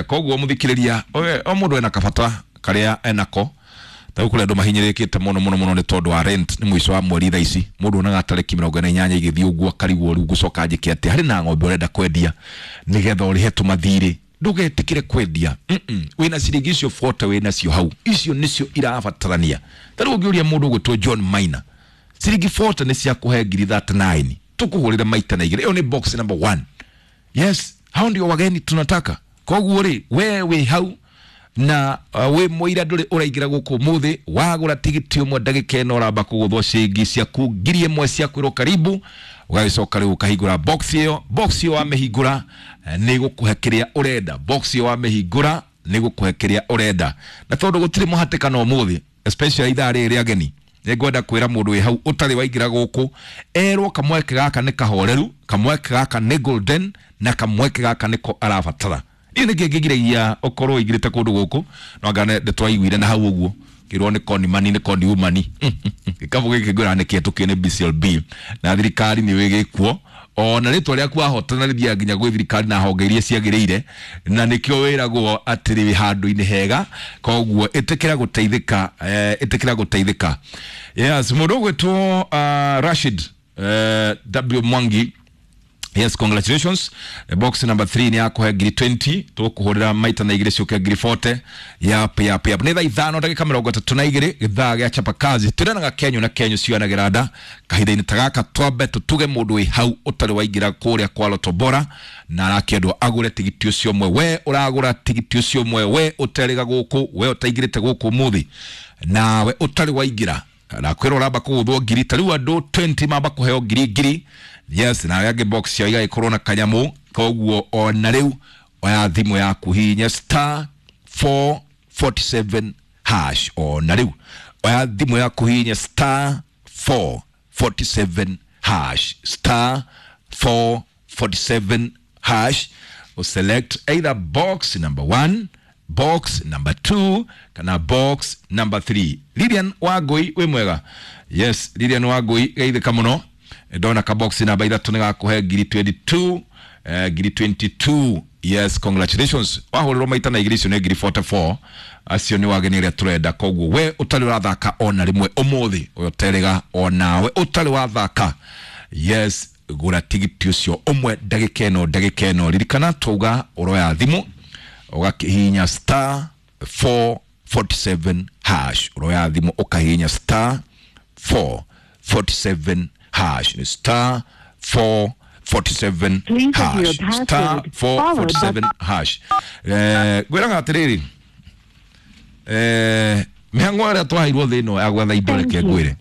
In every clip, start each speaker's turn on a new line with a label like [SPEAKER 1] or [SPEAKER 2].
[SPEAKER 1] Koguo muthikiriria o mundu ena kabata karia enako ta kuri andu mahinyirikite muno muno muno ni tondu wa rent ni mwico wa mweri thaa ici mundu onaga tariki 48 igithii uguo akarigwo riu ngucoka njike atia hari na ng'ombe urenda kwendia nigetha urihe tumathiri ndugetikire kwendia. Wina ciringi icio 40 wina cio hau icio nicio irabatarania. Ta riu ungiuria mundu ugwitwo John Maina ciringi 40 ni cia kuhe ngiri 39 tukuhurire maita na igiri. Iyo ni box number 1. Yes, hao ndio wageni tunataka. Koguo ri we wi hau na we muira nduri uraingira guku muthi wagura tigiti umwe ndagika ino uramba kuguthwo ciringi ciaku ngiri imwe cia kwirwo karibu ugagicoka riu ukahingura box iyo. Box iyo wamihingura ni gukuhe kiria urenda. Box iyo wamihingura ni gukuhe kiria urenda. Na tondu gutiri muhatikano umuthi especially ithaa riri ageni nĩngwenda kwĩra mũndũ wĩ hau ũtarĩ waingĩra gũkũ erwo kamweke gaka nĩ kahoreru, kamweke gaka nĩ golden na kamweke gaka nĩko arabatara. Niĩ nĩkĩ ngĩgiragia ũkorwo ũingĩrĩte kũndũ gũkũ no anga nĩtwaiguire na hau ũguo kĩrwo nĩ koni mani nĩ koni umani gĩkabũ gĩkĩ ngwĩra nĩ kĩhetũkie nĩ BCLB na thirikari nĩ gĩkuo ona rĩtwa rĩaku wahotana rĩthiaga nginya gwĩ thirikari na honge iria ciagĩrĩire na nĩkĩo wĩragwo atĩ wĩ handũ-inĩ hega. Koguo ĩtĩkĩra gũteithĩka, ĩtĩkĩra gũteithĩka. Yes, mũndũ ũgwĩtwo Rashid W Mwangi. Yes, congratulations. Box number 3 ni yakuhe ngiri 20 tukuhurira maita na igiri ciuke ngiri 40. Yap yap yap. Ni thaa ithano ndagika mirongo itatu na igiri githaa gia chapa kazi twiranaga kenyu na kenyu cianagira nda kahinda-inĩ ta gaka twambe tutuge mundu wi hau utari waingira kuria kwa Lotto Bora na arakĩendwo agure tigiti ucio ũmwe. We uragura tigiti ucio ũmwe, we uteriga guku, we utaingirite guku muthi nawe utari waingira na kwirwo uramba kuguthwo ngiri ta riu andu 20 mamba kuheo ngiri ngiri. Yes, na yage box ya igagikorwo na kanyamu. Koguo ona riu oya thimu yaku hinya star 447 hash. Ona riu oya thimu yaku hinya star 447 hash, star 447 hash. Select either box number 1, box number 2 kana box number 3. Lilian Wangui wi mwega. Yes, Lilian Wangui geithika muno. Ndona ka box namba 3 ni gakuhe ngiri 22, ngiri 22. Yes, congratulations. Wahurirwo maita na igiri icio ni ngiri 44. Acio ni wageni aria turenda. Koguo we utari urathaka ona rimwe umuthi uyu onawe utari wathaka. Yes, gura tigiti ucio umwe ndagika ino ndagika ino. Ririkana twauga uroya thimu ugakihinya star 447 hash. Uroya thimu ukahinya star 447 hash. Ni star 447 hash, star 447 hash. Ngwĩraga atĩrĩrĩ, mĩhang'o ĩrĩa twaheirwo thĩ ĩno ya gwetha indo reke ngwĩre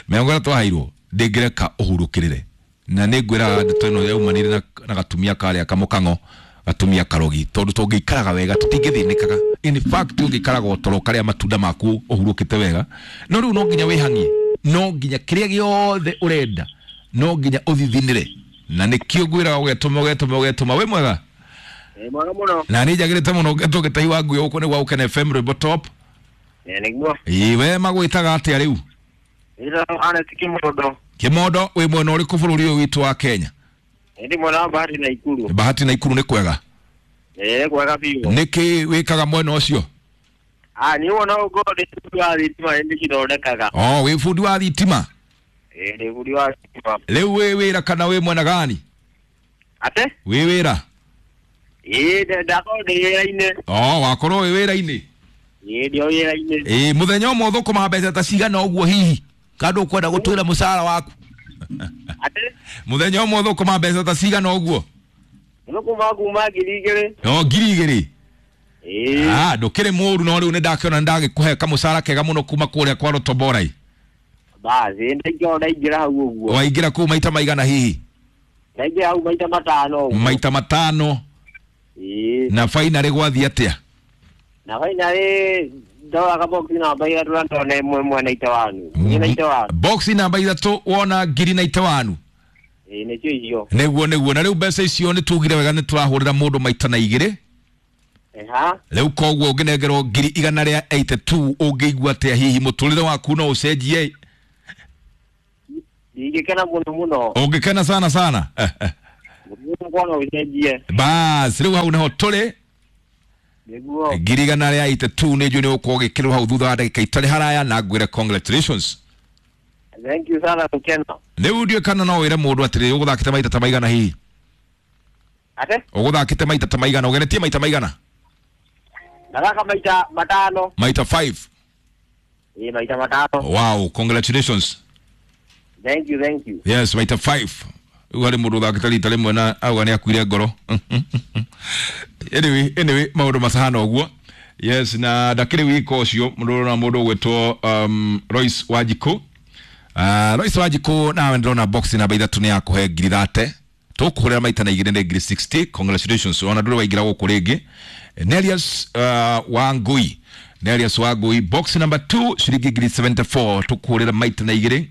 [SPEAKER 1] mĩhang'o ĩrĩa twaheirwo ndĩngĩreka ũhurũkĩrĩre na nĩ ngwĩraga ndeto ĩno yaumanire na gatumia karĩa kamũkang'o gatumia karogi tondu tũngĩikaraga wega tũtingĩthĩnĩkaga. In fact ũngĩikaraga ũtoro ũkarĩa matunda maku ũhurũkĩte wega no rĩu no nginya wĩhang'ie, no nginya kĩrĩa gĩothe ũrenda no nginya ũthithinĩre na nĩkĩo ngwĩraga ũgetũma ũgetũma ũgetũma. Wĩ mwega?
[SPEAKER 2] Mwega mũno.
[SPEAKER 1] Na nĩ njagĩrĩte mũno ngetwo Gĩtahi wa Ngui gũkũ nĩ gwa Gũkena FM Rwĩmbo Top.
[SPEAKER 2] Nĩguo.
[SPEAKER 1] Ĩĩ we magwĩtaga atĩa rĩu?
[SPEAKER 2] Ĩtagwo Ernest Kimondo.
[SPEAKER 1] Kimondo wĩ mwena ũrĩkũ bũrũri ũyũ witũ wa Kenya?
[SPEAKER 2] Ndĩ mwena wa Bahati na Ikuru.
[SPEAKER 1] Bahati na Ikuru nĩ kwega?
[SPEAKER 2] Ĩĩ kwega biũ.
[SPEAKER 1] Nĩkĩ wĩkaga mwena ũcio?
[SPEAKER 2] Ah, niĩ wona ũguo ndĩ bundi wa thitima nĩ ndĩcithondekaga.
[SPEAKER 1] Oh, wĩ bundi wa thitima?
[SPEAKER 2] Ĩĩ ndĩ bundi wa thitima.
[SPEAKER 1] Rĩu wĩ wĩra kana wĩ mwena gani?
[SPEAKER 2] Ate?
[SPEAKER 1] Wĩ wĩra?
[SPEAKER 2] Ĩĩ ndakorwo ndĩ wĩra-inĩ.
[SPEAKER 1] Oh, wakorwo wĩ wĩra-inĩ?
[SPEAKER 2] Ĩĩ ndĩ o wĩra-inĩ.
[SPEAKER 1] Ĩĩ mũthenya ũmwe ũthũkũmaga mbeca ta cigana ũguo hihi? Kana ndũkwenda gũtwĩra mũcara waku?
[SPEAKER 2] Ate?
[SPEAKER 1] Mũthenya ũmwe ũthũkũmaga mbeca ta cigana ũguo?
[SPEAKER 2] Thũkũma kuma ngiri igĩrĩ.
[SPEAKER 1] Oh, ngiri igĩrĩ?
[SPEAKER 2] Ĩĩ.
[SPEAKER 1] Ah, ndũkĩrĩ mũru no rĩu nĩndakĩona nĩndagĩkũhe kamũcara kega mũno kuma kũrĩa kwa Lotto Bora.
[SPEAKER 2] Basi ndaingĩra hau ũguo.
[SPEAKER 1] Waingĩra kũu maita maigana hihi?
[SPEAKER 2] Ndaingĩra hau maita matano ũguo.
[SPEAKER 1] Maita matano.
[SPEAKER 2] Ĩĩ.
[SPEAKER 1] Na finally gwathiĩ atĩa?
[SPEAKER 2] Na finally ndoraga box namba ithatũ na ndona ĩmwe ĩmwe na itawanu. Ngiri na itawanu.
[SPEAKER 1] Box namba ithatũ wona ngiri na itawanu.
[SPEAKER 2] Ĩĩ nĩcio icio.
[SPEAKER 1] Nĩguo nĩguo. Na rĩu mbeca icio nĩ tugire wega nĩ tũrahũrĩra mũndũ maita na igĩrĩ.
[SPEAKER 2] Eha.
[SPEAKER 1] Rĩu koguo ũngĩnengerwo ngiri igana rĩa 82 ũngĩigua atĩa hihi mũtũrĩre waku no ũcenjie?
[SPEAKER 2] Ndingĩkena mũno mũno.
[SPEAKER 1] Ũngĩkena sana sana.
[SPEAKER 2] Mũkwana ũcenjie.
[SPEAKER 1] Bas rĩu hau nĩho tũrĩ.
[SPEAKER 2] Nĩguo.
[SPEAKER 1] 183 nĩ njũĩ nĩ ũgũkorwo ũgĩkĩrwo hau thutha wa ndagĩka itarĩ haraya, na ngwĩre congratulations.
[SPEAKER 2] Thank you sana gũkena.
[SPEAKER 1] Rĩu ndiũĩ kana no wĩre mũndũ atĩrĩrĩ, ũgũthakĩte maita ta maigana hihi?
[SPEAKER 2] Ate?
[SPEAKER 1] Ũgũthakĩte maita ta maigana, ũgeretie maita maigana?
[SPEAKER 2] Ndathaka maita matano.
[SPEAKER 1] Maita 5.
[SPEAKER 2] Ĩĩ, maita matano.
[SPEAKER 1] Wow, congratulations.
[SPEAKER 2] Thank you, thank you.
[SPEAKER 1] Yes, maita 5. Rĩu harĩ mũndũ ũthakĩte rita rĩmwe na auga nĩ akuire ngoro. Anyway, maũndũ macahana ũguo. Yes, na ndakĩrĩ wika ũcio mũndũ na mũndũ ũgwĩtwo Royce Wanjikũ. Royce Wanjikũ, nawe ndĩrona box namba 3 nĩ yakũhe 30,000. Tũkũhũrĩra maita na igĩrĩ nĩ 60,000. Congratulations, ona ndũrĩ waingĩra gũkũ rĩngĩ. Nelius Wangui, Nelius Wangui, box number 2 ciringi 74,000, tũkũhũrĩra maita na igĩrĩ.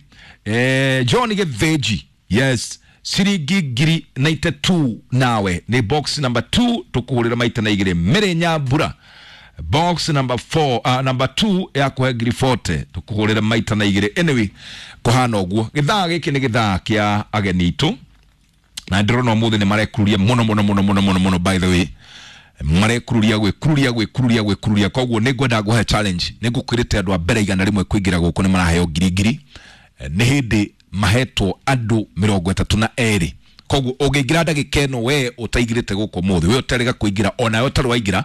[SPEAKER 1] John Gĩthĩnji, yes, ciringi 92,000, nawe nĩ box number 2, tũkũhũrĩra maita na igĩrĩ. Mary Nyambura, box number 4, number 2 ya kũhe 40,000, tũkũhũrĩra maita na igĩrĩ. Anyway, kũhana ũguo, gĩthaa gĩkĩ nĩ gĩthaa kĩa ageni itũ, na ndĩrona ũmũthĩ nĩ marekururia mũno mũno mũno mũno mũno mũno. By the way, marekururia gwĩkururia gwĩkururia gwĩkururia, koguo nĩ ngwenda ngũhe challenge. Nĩ ngũkwĩrĩte andũ a mbere 100 kũingĩra gũkũ nĩ maraheo ngiri ngiri. Nĩ hĩndĩ mahetwo andũ 32, koguo ũngĩingĩra ndagĩka ĩno, we ũtaingĩrĩte gũkũ ũmũthĩ, we ũtarĩga kũingĩra, onawe ũtarĩ waingĩra,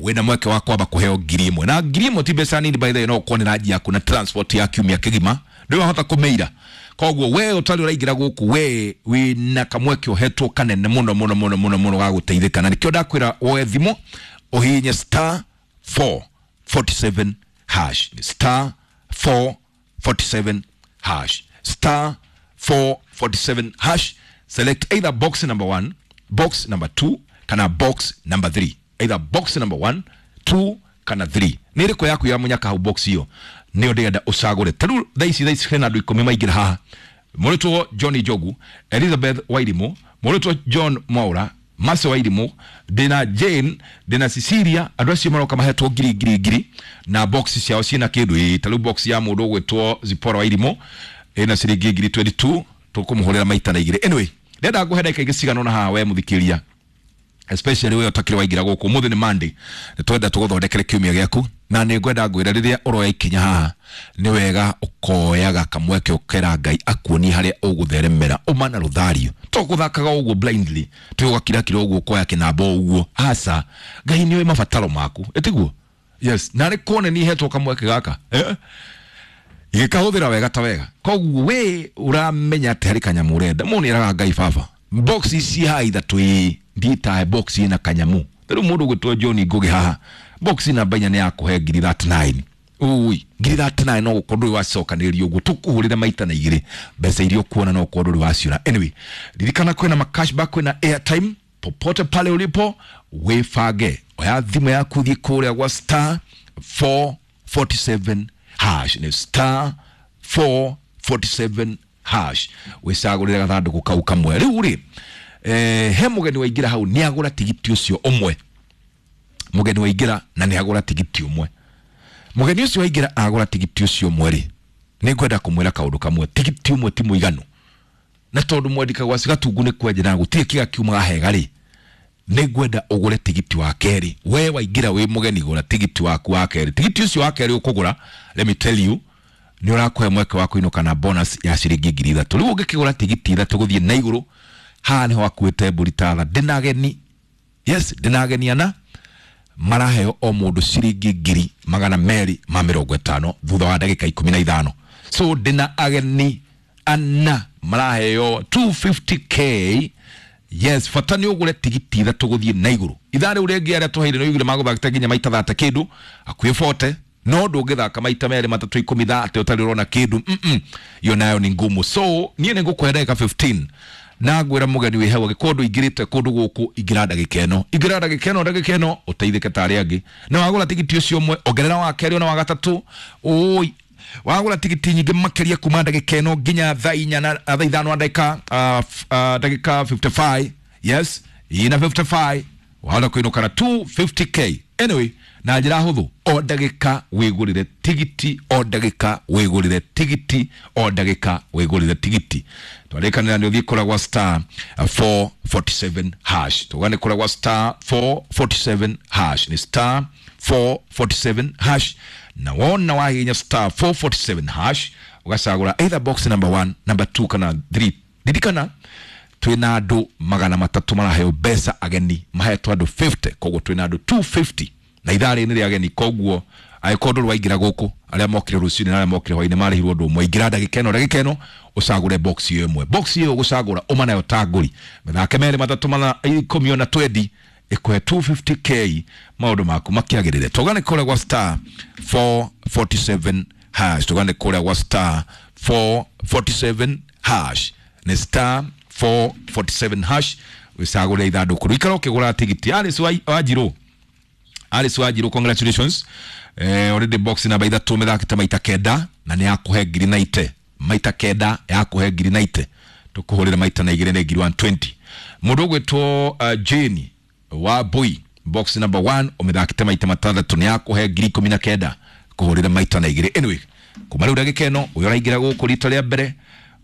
[SPEAKER 1] wĩna mweke wa kwamba kũheo 1,000, na 1,000 ti mbeca nini, by the way. No ũkorwo nĩ ranji yaku na transport ya kiumia kĩgima, ndũrĩ wahota kũmĩira. Koguo we ũtarĩ ũraingĩra gũkũ, we wĩna kamweke ũhetwo kanene mũno mũno mũno mũno mũno ga gũteithĩka, na nĩkĩo ndakwĩra woe thimũ ũhihinye star 447 hash, star 447 hash, star 447 hash. Select either box number 1, box number 2 kana box number 3. Either box number 1, 2 kana 3, nĩ ĩrĩkũ yaku ya mũnyaka hau box iyo nĩyo ndĩrenda ũcagũre. Ta rĩu thaa ici hena andũ 10 maingĩra haha: mũrĩtwo John Njogu, Elizabeth Wairimũ, mũrĩtwo John Mwaura, Mercy Wairimũ, ndĩna Jane, ndĩna Cecilia. Andũ acio maroka mahetwo ngiri ngiri ngiri, na box ciao ciĩna kĩndũ. Ĩĩ, ta rĩu box ya mũndũ ũgwĩtwo Zipporah Wairimũ ĩna ciringi 22,000, tũkũmũhũrĩra maita na igĩrĩ. Anyway, ndĩrenda ngũhe ndagĩka ingĩ cigana ũna haha, we mũthikĩria, especially we ũtakĩrĩ waingĩra gũkũ. Ũmũthĩ nĩ Monday, nĩ twenda tũgũthondekere kiumia gĩaku, na nĩ ngwenda ngwĩre rĩrĩa ũroya ikinya haha, nĩ wega ũkoyaga kamweke ũkera Ngai akuonie harĩa ũgũtheremera ũma na rũthario, to gũthakaga ũguo blindly, tĩ ũgakirakira ũguo ũkoya kĩnamba ũguo. Aca, Ngai nĩoĩ mabataro maku, ĩtiguo? Yes, na nĩ kuone nĩ hetwo kamweke gaka, eh? Gĩkahũthĩra wega ta wega. Koguo we ũramenya atĩ harĩ kanyamũ ũrenda, mũndũ nĩeraga Ngai, baba, box ici haha ithatũ, ĩĩ, ndiĩtahe box ĩna kanyamũ. Rĩu mũndũ ũgwĩtwo John Ngũgĩ haha, box namba 4 nĩ yakũhe 39,000. Ui, 39,000, no gũkorwo ndũrĩ wacokanĩrĩria ũguo, tũkũhũrĩre maita na igĩrĩ mbeca iria ũkuona, no ũkorwo ndũrĩ waciona. Anyway, ririkana kwĩna ma cashback, kwĩna airtime. Popote pale ulipo, wĩbange, oya thimũ yaku, thiĩ kũrĩa gwa star 447 hash, nĩ star 447 hash, wĩcagũrĩre gathandũkũ kau kamwe. Rĩu rĩ, he mũgeni waingĩra hau, nĩ agũra tigiti ũcio ũmwe. Mũgeni waingĩra na nĩ agũra tigiti ũmwe, mũgeni ũcio waingĩra agũra tigiti ũcio ũmwe rĩ, nĩ ngwenda kũmwĩra kaũndũ kamwe: tigiti ũmwe ti mũiganu, na tondũ mwandĩka gwa Gatungu nĩ kwenja na gũtirĩ kĩga kiumaga hega rĩ, nĩ ngwenda ũgũre tigiti wa kerĩ. We waingĩra wĩ mũgeni, gũra tigiti waku wa kerĩ. Tigiti ũcio wa kerĩ ũkũgũra, let me tell you, nĩ ũrakũhe mweke wa kũinũka na bonus ya ciringi 3,000. Rĩu ũngĩkĩgũra tigiti ithatũ gũthiĩ na igũrũ, haha nĩho akuĩte mbũri tatha. Ndĩna ageni, yes, ndĩna ageni ana maraheo o mũndũ ciringi 250,000 thutha wa ndagĩka 15. So ndĩna ageni ana maraheo 250K. Yes, bata nĩ ũgũre tigiti ithatũ gũthiĩ na igũrũ. Ithaa rĩu rĩngĩ arĩa tũheire nĩ ũiguire magũthakĩte nginya maita thate kĩndũ hakuhĩ 40, no ndũngĩthaka maita merĩ matatũ ikũmi thate ũtarĩ ũrona kĩndũ. Iyo nayo ni ngumu. So niĩ nĩ ngũkũhe ndagĩka 15 na ngwĩra mũgeni wĩ hau, angĩkorwo ndũingĩrĩte kũndũ gũkũ, ingĩra ndagĩka ĩno, ingĩra ndagĩka ĩno, ndagĩka ĩno, ũteithĩke ta arĩa angĩ. Na wagũra tigiti ũcio ũmwe, ongerera wa kerĩ ona wa gatatũ. Ũi, wagũra tigiti nyingĩ makĩria kuma ndagĩka ĩno nginya thaa inya na thaa ithano na ndagĩka ndagĩka 55, yes, ina 55, wahota kũinũka na 250K. Anyway, Na njĩra hũthũ, o ndagĩka wĩgũrĩre tigiti, o ndagĩka wĩgũrĩre tigiti, o ndagĩka wĩgũrĩre tigiti. Twarĩkanĩra nĩ ũthiĩ kũrĩa gwa star 447 hash. Tuga nĩ kũrĩa gwa star 447 hash, nĩ star 447 hash. Na wona wahihinya star 447 hash, ũgacagũra either box number 1, number 2 kana 3. Ririkana twina andũ 300 maraheo mbeca ageni, mahetwo andũ 50, koguo twina andũ 250 na ithaa rĩrĩ nĩ rĩa ageni. Koguo angĩkorwo ndũrĩ waingĩra gũkũ, arĩa mokire rũcinĩ na arĩa mokire hwainĩ marĩhirwo ũndũ ũmwe. Ingĩra ndagĩka ĩno, ndagĩka ĩno ũcagũre box ĩyo ĩmwe. Box ĩyo ũgũcagũra ũma nayo ta ngũri, mĩthake merĩ matatũ mana ikũmi ona twendi ĩkũhe 250K, maũndũ maku makĩagĩrĩre. Tũgane kũrĩa gwa star 447 hash, tũgane kũrĩa gwa star 447 hash, nĩ star 447 hash, wĩcagũre ithandũkũ rĩu, ikara ũkĩgũra tigiti. Alice Wanjirũ, Alice Wanjirũ, congratulations. Already box namba ithatũ mĩthakĩte maita kenda na nĩ yakũhe ngiri naite, maita kenda yakũhe ngiri naite, tũkũhũrĩra maita na igĩrĩ nĩ ngiri 120. Mũndũ ũgwĩtwo Jane wa Mbui, box number 1 ũmĩthakĩte maita matandatũ nĩ yakũhe ngiri 19, kũhũrĩra maita na igĩrĩ. Anyway, kuma rĩu ndagĩka ĩno ũyũ ũraingĩra gũkũ rita rĩa mbere,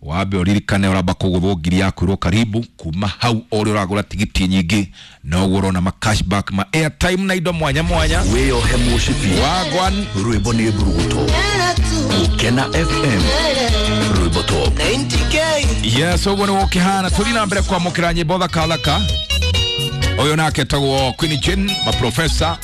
[SPEAKER 1] wambe ũririkane ũramba kũgũthwo ngiri yaku ĩrwo karibu. Kuma hau o ũrĩa ũragũra tigiti nyingĩ noguo ũrona ma cashback, ma airtime na indo mwanya mwanya.
[SPEAKER 3] Wĩyohe mũcibi.
[SPEAKER 1] Wagwan.
[SPEAKER 3] Rwĩmbo nĩ mburuguto. Gũkena FM, rwĩmbo top.
[SPEAKER 1] Yes, ũguo nĩ gũkĩhana. Tũthiĩ na mbere kwamũkĩra nyĩmbo thaka thaka. Ũyũ nake etagwo Queen Jane, maprofesa.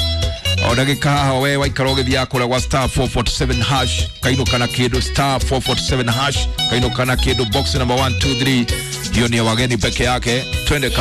[SPEAKER 1] O ndagĩka haha we waikara ũgĩthiaga kũrĩa gwa star 447 hash, kainũka na kĩndũ. Star 447 hash, kainũka na kĩndũ, box number 1, 2, 3, hiyo ni ya wageni peke yake. Twende.